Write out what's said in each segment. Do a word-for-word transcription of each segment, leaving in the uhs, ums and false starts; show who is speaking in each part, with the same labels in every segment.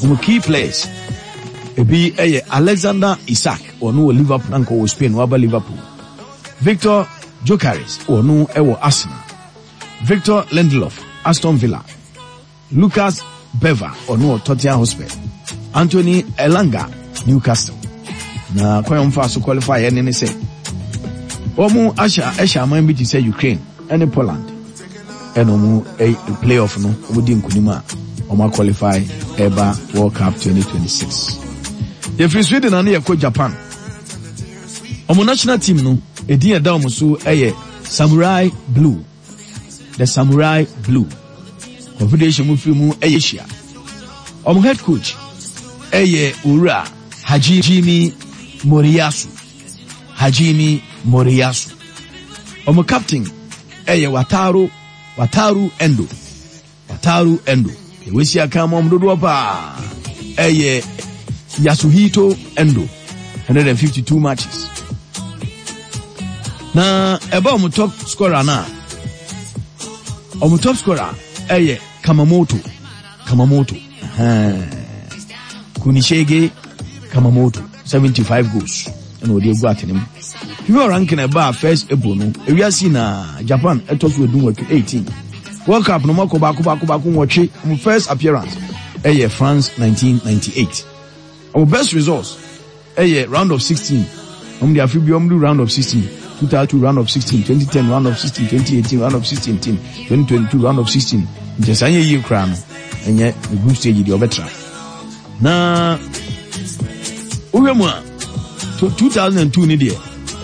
Speaker 1: Wɔn key players ebi yɛ Alexander Isak, ɔno wɔ Liverpool, anka wɔ Spain, waba Liverpool. Victor Gyokeres, ɔno wɔ Arsenal. Victor Lindelof, Aston Villa. Lucas Leiva, ɔno wɔ Tottenham Hotspur. Anthony Elanga, Newcastle. Na kwan a wɔmfa so qualify ɛne ne sɛ wɔn ahyɛ ɛhyɛ aman bi te sɛ Ukraine ɛne Poland, ɛna wɔn ɛ playoff no wɔn di nkunim a wɔn aqualify ɛba World Cup twenty twenty-six. Yɛfiri Sweden ano, yɛkɔ Japan. Wɔn national team no edin ɛda wɔn so ɛyɛ Samurai Blue, the Samurai Blue. Confederation mu firi mu ɛyɛ Asia. Wɔn head coach ɛyɛ Owura Hajime Moriyasu, Hajime Moriyasu. Wɔn captain ɛyɛ Wataru Wataru Endo, Wataru Endo. Ewesi aka mu wɔn dodoɔ paa ɛyɛ Yasuhito Endo, one hundred fifty-two matches. Na ɛba wɔn top scorer na wɔn top scorer ɛyɛ Kamamoto, Kamamoto, Kunishige Kamamoto, seventy-five goals ɛna ɔde egu atene mu. FIFA ranking ɛbaa first April no, ewiase na Japan ɛtɔ so edu nwɔtwe, eighteen. World Cup no mɔkɔ baako baako baako nwɔtwe. Wɔn first appearance ɛyɛ France nineteen ninety-eight. Wɔn best results ɛyɛ round of sixteen. Wɔn de afi bi wɔn do round of sixteen, two thousand two round of sixteen, twenty ten round of sixteen, twenty eighteen round of sixteen, twenty twenty-two round of sixteen. Nkyɛn saa nyɛ yie koraa no, ɛnyɛ the group stage deɛ ɔbɛtra. Na wohwɛ mu a, two thousand two ni deɛ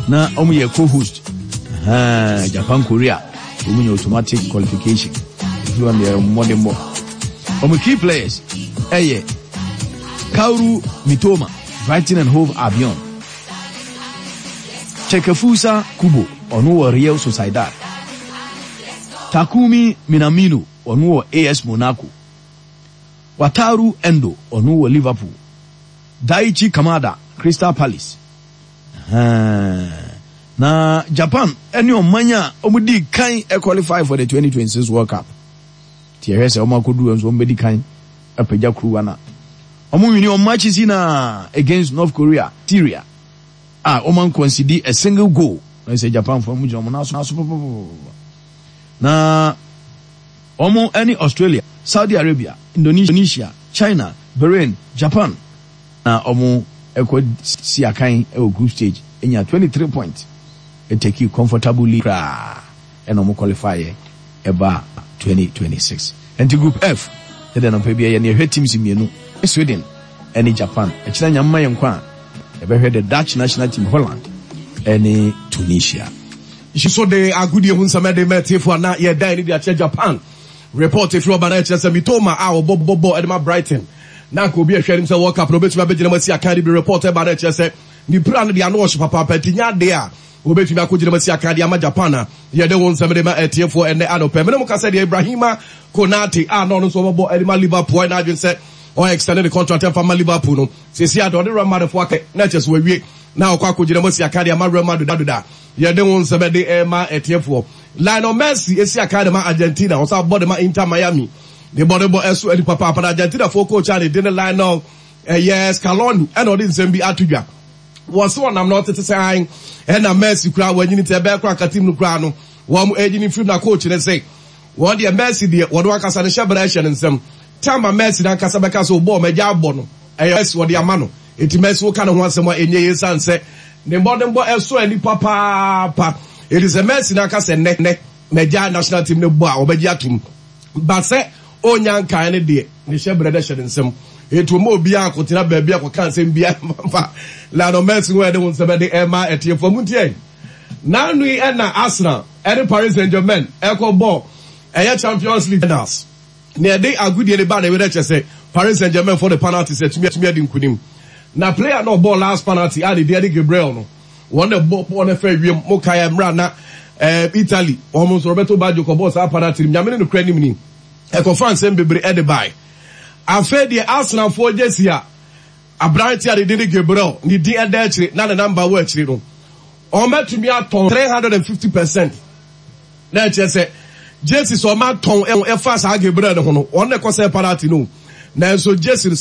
Speaker 1: na wɔn yɛ co-host, Japan, Korea, wɔn nyɛ automatic qualification. Efi wɔn deɛ mmɔdenbɔ. Wɔn key players ɛyɛ Kaoru Mitoma, Brighton and Hove Albion; Takefusa Kubo, ɔno wɔ Real Sociedad; Takumi Minamino, ɔno wɔ A S Monaco; Wataru Endo, ɔno wɔ Liverpool; Daichi Kamada, Crystal Palace. Na Japan ɛne ɔman a wɔn di kan qualify for the twenty twenty-six World Cup. Tí ɛhwɛ sɛ wɔn akɔduru nso, wɔn bɛdi kan apagya kuruwa na wɔn win wɔn matches na against North Korea, Syria, a wɔn anconcede a single goal. Na sɛ Japan fo, wɔn gyina wɔn nan so papapapa. Na wɔn ne Australia, Saudi Arabia, Indonesia, China, Bahrain, Japan na wɔn ɛkɔ si akan ɛwɔ group stage, enya twenty-three points, ɛtake comfortably koraa, ɛna wɔn qualify yɛ ɛba twenty twenty-six. Nti Group F ɛdɛ nɔpɛ bi ɛyɛ ne yɛhwɛ teams mmienu, Sweden ɛne Japan. Ɛkyerɛ nyamma yɛn kwan a yɛbɛhwɛ the Dutch national team, Holland ɛne Tunisia.
Speaker 2: So de agodie ho nsɛm ɛde mɛtiefo a na yɛdan ne de akyerɛ Japan. Report efiri ɔba na ɛkyerɛ sɛ Mitoma a ɔbɔ bɔ bɔ ɛde ma Brighton na nka obi ahwɛ anim sɛ World Cup na obetumi abɛgyina mu asi akan de bi. Report ɛba na ɛkyerɛ sɛ ne pira no de ano ɔhye papaapa, nti nya adeɛ a obetumi akɔgyina mu asi akan de ama Japan a yɛde wɔn nsɛm de ma ɛtiefoɔ ɛnɛ anɔpɛ. Mene mo kasa deɛ, Ibrahima Konate a na ɔno nso ɔbɛbɔ ɛde ma Liverpool, ɛna adwene sɛ ɔyɛ extended the contract ɛmfa ma Liverpool no, sisi ade ɔde Real Madrid fo akɛ na ɛkyɛ so wawie na ɔkɔ akɔgyina mu asi akan de ama Real Madrid doda. Yɛde wɔn nsɛm de ɛma ɛtiefoɔ. Lionel Messi esi akan de ma Argentina, ɔsan bɔ de ma Inter Miami, ne bɔ de bɔ ɛso ɛni papaapa. Na Argentina fo coach a ne de ne Lionel ɛyɛ Scaloni, ɛna ɔde nsɛm bi ato dwa. Wɔsi ɔnam na ɔtete sɛ an ɛna Messi kura wɔnyini tɛ ɛbɛyɛ kora nka team no kura no wɔn ɛgyini firim. Na coach ne sɛ wɔn deɛ, Messi deɛ, wɔde ankasa ne hyɛ bɛrɛ ɛhyɛ ne nsam. Tama Messi n'ankasa bɛka sɛ ɔbɔɔ mɛgya abɔ no, ɛyɛ Messi wɔde ama no. Eti Messi woka ne ho asɛm a ɛnyɛ yɛ san sɛ ne mbɔdenbɔ ɛso ani papaapa. Eti sɛ Messi n'ankasa nnɛ nnɛ mɛgya national team ne bɔ a, ɔbɛgye atum ba sɛ onya nkan ne deɛ ne hyɛ brɛ dɛ hyɛ ne nsam. Etu ɔmo obiara akɔtena baabi akɔka nsɛm bia fa Lionel Messi ho. Ɛde ho nsɛm ɛde ɛma ɛtiɛfoɔ mu ntiɛ. N'anu yi ɛna Arsenal ɛne Paris Saint Germain ɛkɔ bɔ ɛyɛ Champions League finals na ɛde agodie ne ba na ɛwɛ kyɛ sɛ Paris Saint Germain for the penalty sɛ tumi tumi adi nkunim. Na player na ɔbɔ last penalty a ne deɛ de Gabriel no, wɔn na bɔ bɔɔl no fɛ wiem mo kae mmerɛ na ɛɛ Italy wɔn nso Roberto Baggio kɔ bɔɔl saa penalty no. Nyame ne no kura anim ni ɛkɔfa nsɛm bebree ɛde bae. Afei deɛ, Arsenalfoɔ jersey a aberante a ne din de Gabriel ne din ɛda akyire na ne number wɔ akyire no, wɔn bɛtumi atɔn three hundred and fifty percent. Na ɛkyerɛ sɛ jersey sɛ ɔma tɔn ɛfa saa Gabriel ne ho no, wɔn na ɛkɔ sɛ penalty no, nanso jersey no sɛ